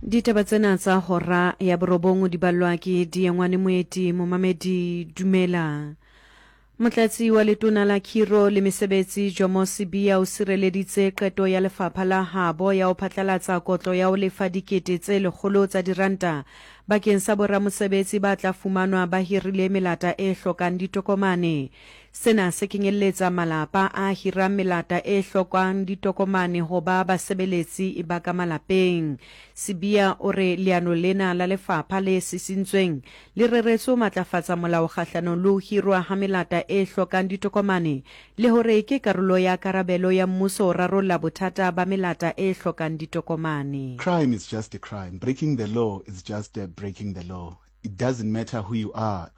Ditaba tsena tsa hora ya borobong di ballwa ke Diengwane Moeti. Momamedi, dumela. Motlatsi wa letona la Khiro le Mesebetsi Jomo Sibiya o sireleditse qeto ya lefapha la habo ya ho phatlalatsa kotlo ya ho lefa dikete tse lekgolo tsa diranta bakeng sa boramosebetsi ba tla fumanwa ba hirile melata e hlokang ditokomane. Sena se kenyelletsa malapa a hirang melata e hlokang ditokomane ho ba basebeletsi ba ka malapeng. Sibiya o re leano lena la lefapha le sisintsweng le reretswe ho matlafatsa molao kgahlanong le ho hirwa ha melata e hlokang ditokomane le hore ke karolo ya karabelo ya mmuso ho rarolla bothata ba melata e hlokang ditokomane. Crime is just a crime, breaking the law is just breaking the law, it doesn't matter who you are,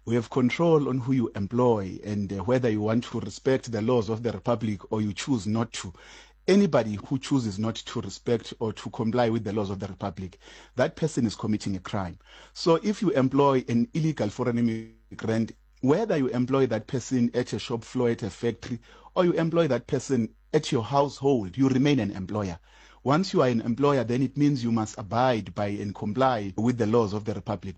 we have control on who you employ and whether you want to respect the laws of the republic or you choose not to. Anybody who chooses not to respect or to comply with the laws of the republic, that person is committing a crime. So if you employ an illegal foreign immigrant, whether you employ that person at a shop floor, at a factory, or you employ that person at your household, you remain an employer. Once you are an employer, then it means you must abide by and comply with the laws of the republic.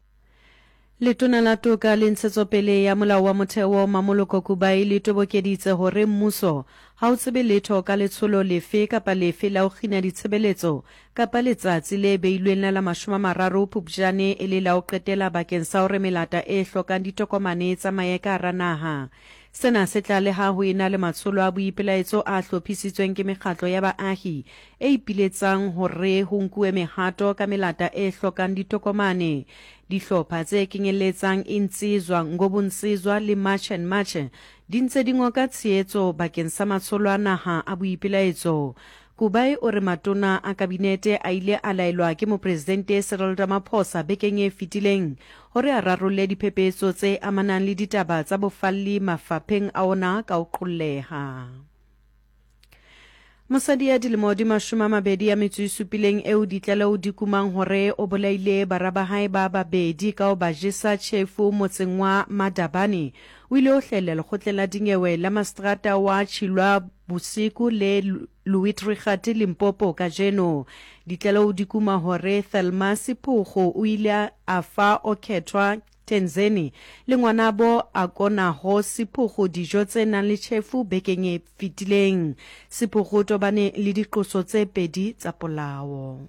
Letona la Toka le Ntshetsopele ya Molao wa Motheo Mamoloko Kubayi le tobokeditse hore mmuso ha o tsebe letho ka letsholo lefe kapa lefe la ho kgina ditshebeletso kapa letsatsi le beilweng la la 30 Phupjane e le la ho qetela bakeng sa hore melata e hlokang ditokomane e tsamaye ka hara naha. Sena se tla le ha ho ena le matsholo a boipelaetso a hlophisitsweng ke mekgatlo ya baahi e ipiletsang hore ho nkuwe mehato ka melata e hlokang ditokomane. Dihlopha tse kenyelletsang Insizwa Ngobunsizwa le March and March di ntse di ngoka tshehetso bakeng sa matsholo a naha a boipelaetso. Kubayi o re matona a kabinete a ile a laelwa ke Mopresidente Cyril Ramaphosa bekeng e fetileng hore a rarolle diphephetso tse amanang le ditaba tsa bofalli mafapheng a ona ka ho qolleha. Mosadi ya dilemo di 27 eo ditlaleho di kumang hore o bolaile bara ba hae ba babedi ka ho ba jesa tjhefu motseng wa Madabane o ile ho hlahella lekgotleng la dinyewe la maseterata wa Chilwa Bosiku le Louis-Trichardt Limpopo kajeno. Ditlaleho di kuma hore Thelma Sephogo o ile a fa Okhethwa Tenzeni le ngwanabo Akonaho Sephogo dijo tse nang le tjhefu bekeng e fetileng. Sephogo o tobane le diqoso tse pedi tsa polao.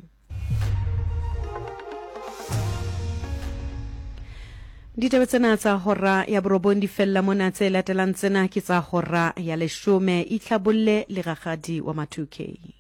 Ditaba tsena tsa hora ya borobong di fella mona, tse latelang tsena ke tsa hora ya leshome. Itlhabolle le rakgadi wa ma 2K.